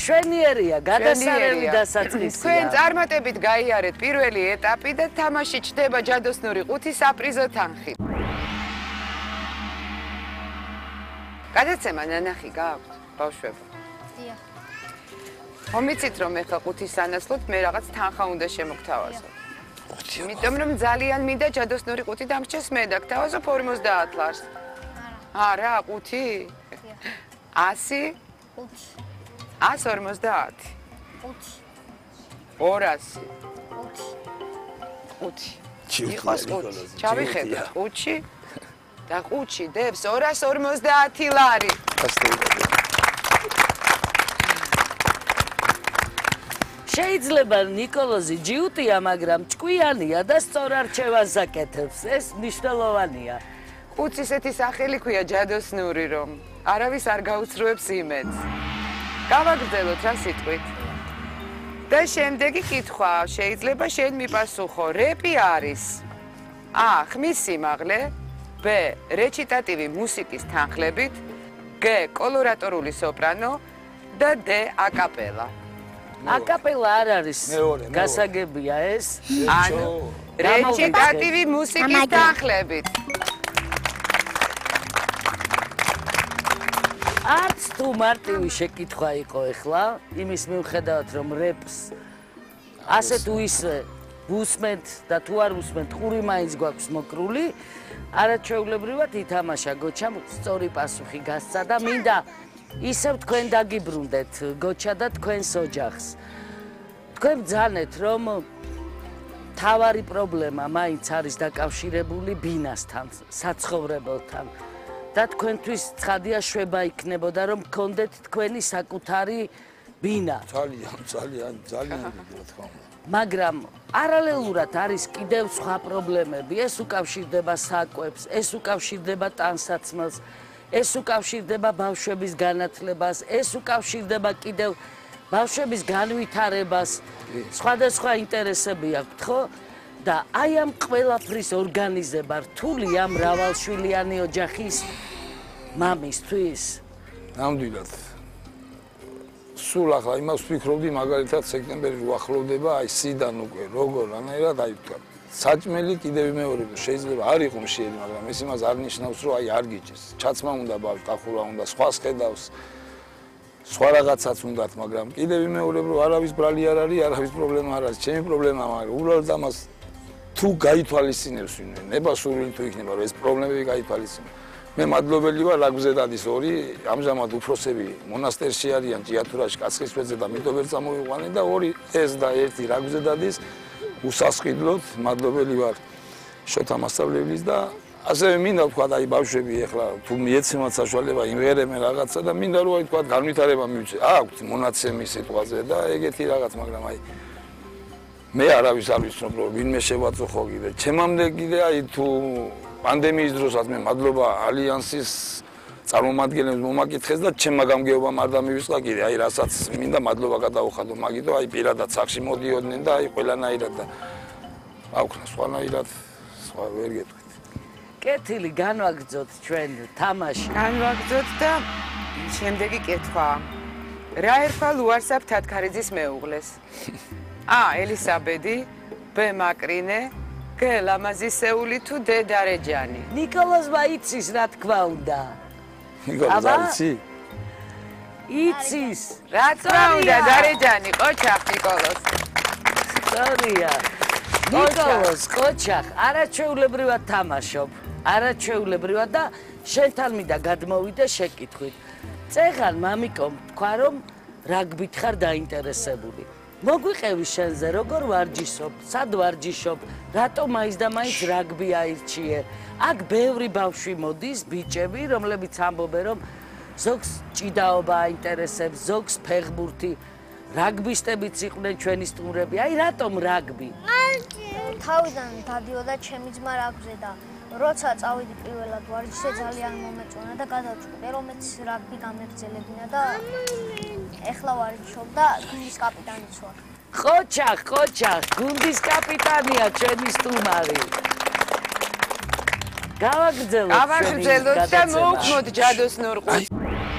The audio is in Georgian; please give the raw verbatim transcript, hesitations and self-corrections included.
შვენიერია, გადასარევი დასაწყისია. თქვენ წარმატებით გაიარეთ პირველი ეტაპი და თამაში ჩდება ჯადოსნური ყუთი საპრიზო თანხით. გადაცემა ნანახი გააქვთ, ბავშვებო? დიახ. მომიცით რომ ეხლა ყუთის სანაცვლოდ მე რაღაც თანხა უნდა შემოგთავაზო. იმიტომ რომ ძალიან მინდა ჯადოსნური ყუთი დამრჩეს მე და გთავაზობ ორმოცდაათ ლარს. არა, ყუთი? ასი? ყუთი. ას ორმოცდაათი. ყუთი. ორასი. ყუთი. ყუთი. იყოს ყუთი. ჩავიხედოთ ყუთში და ყუთში დებს ორას ორმოცდაათი ლარი. შეიძლება ნიკოლოზი ჯიუტია, მაგრამ ჭკვიანია და სწორ არჩევანს აკეთებს. ეს მნიშვნელოვანია. ყუთს ისეთი სახელი ქვია ჯადოსნური, რომ არავის არ გაუსრულებს იმედს. გავაგრძელოთ რა სიტყვით. და შემდეგი კითხვა, შეიძლება შენ მიპასუხო, რეპი არის ა. ხმის სიმაღლე, ბ. რეჩიტატივი მუსიკის თანხლებით, გ. კოლორატორული სოპრანო და დ. აკაპელა. აკაპელა არ არის გასაგებია ეს. ანუ რეჩიტატივი მუსიკის თანხლებით. არც თუ მარტივი შეკითხვა იყო ეხლა, იმის მიუხედავად რომ რეპს ასე თუ ისე უსმენთ და თუ არ უსმენთ, ყური მაინც გვაქვს მოკრული, არაჩვეულებრივად ითამაშა გოჩამ სწორი პასუხი გასცა და მინდა ისევ თქვენ დაგიბრუნდეთ გოჩა და თქვენს ოჯახს. თქვენ ბრძანეთ რომ თავარი პრობლემა მაინც არის დაკავშირებული ბინასთან, საცხოვრებელთან. და თქვენთვის ცხადია შვება იქნებოდა რომ გქონდეთ თქვენი საკუთარი ბინა. ძალიან, ძალიან, ძალიან დიდი რა თქმა უნდა. მაგრამ პარალელურად არის კიდევ სხვა პრობლემები. ეს უკავშირდება საკვებს, ეს უკავშირდება ტანსაცმელს, ეს უკავშირდება ბავშვების განათლებას, ეს უკავშირდება კიდევ ბავშვების განვითარებას. სხვადასხვა ინტერესები აქვთ, ხო? და აი ამ ყველაფრის ორგანიზება რთულია მრავალშვილიანი ოჯახის მამისთვის. ნამდვილად. სულ ახლა იმას ვფიქრობდი, მაგალითად სექტემბერი რო ახლოვდება, აი სიდან უკვე როგორ რანაირად აი თქვა. საჭმელი კიდევ მეორე შეიძლება არ იყო მშიერი, მაგრამ ეს იმას არ ნიშნავს, რომ აი არ გიჭირს. ჩაცმა უნდა ბავშვს, დახურვა უნდა, სხვას ხედავს. სხვა რაღაცაც უნდათ, მაგრამ კიდევ მეორე რომ არავის ბრალი არ არის, არავის პრობლემა არ არის. ჩემი პრობლემა მაგრამ უბრალოდ ამას თუ გაითვალისწინებს ვინმე, ნებასურვილი თუ იქნება, რომ ეს პრობლემები გაითვალისწინოს. მე მადლობელი ვარ ლაგბზე დადის ორი, ამჟამად უფროსები მონასტერში არიან ჭიათურაში, კაცხისწყლზე და მიტოვერ წამოვიყვანე და ორი ეს და ერთი ლაგბზე დადის. უსასყიდლოდ მადლობელი ვარ შოთა მასწავლებლის და ასევე მინდა ვთქვა აი ბავშვები ეხლა თუ მიეცემათ საშუალება იმღერებენ რაღაცა და მინდა რომ აი თქვა განვითარება მივცე. აქვთ მონაცემი სიტყვაზე და ეგეთი რაღაც, მაგრამ აი მე არავის არ ვიცნობ რომ ვინმე შევაწუხო კიდე. ჩემამდე კიდე აი თუ პანდემიის დროსაც მე მადლობა ალიანსის წარმომადგენლებს მომაკითხეს და ჩემმა გამგეობამ არ დამივისყა კიდე. აი რასაც მინდა მადლობა გადაუხადო მაგითო აი პირადად სახში მოდიოდნენ და აი ყველანაირად და აქვთ სხვანაირად სხვა ვერ გეტყვით. კეთილი განვაგრძოთ ჩვენ თამაში. განვაგრძოთ და შემდეგი კითხვა. რა ერქვა ლუარსაბ თათქარიძის მეუღლეს? ა. ელისაბედი, ბ. მაკრინე, გ. ლამაზისეული თუ დ. დარეჯანი. ნიკოლოზმა იცის რა თქმა უნდა. ნიკოლოზ არ იცი? იცის. რა თქმა უნდა დარეჯანი, ყოჩახ ნიკოლოზ. სწორია. ნიკოლოზ ყოჩახ არაჩვეულებრივად თამაშობ. არაჩვეულებრივად და შენთან მინდა გადმოვიდე შეკითხვით. წეღან მამიკომ თქვა რომ რაგბით ხარ დაინტერესებული. მოგვიყევი შენზე როგორ ვარჯიშობ, სად ვარჯიშობ, რატომ მაინც და მაინც რაგბი აირჩიე. აქ ბევრი ბავშვი მოდის, ბიჭები, რომლებიც ამბობენ რომ ზოგს ჭიდაობა აინტერესებს, ზოგს ფეხბურთი. რაგბისტებიც იყვნენ ჩვენი სტუმრები. აი რატომ რაგბი? თავიდან დადიოდა ჩემი ძმა რაგბზე და როცა წავიდი პირველად ვარჯიშზე ძალიან მომეწონა და გადავწყვიტე რომ მეც რაგბი გამეგრძელებინა და ეხლა ვარჯიშობ და გუნდის კაპიტანიც ვარ. ყოჩახ, ყოჩახ, გუნდის კაპიტანია ჩვენი სტუმარი. გავაგრძელოთ გავაგრძელოთ და მოვხმოთ ჯადოსნურ ყუთს.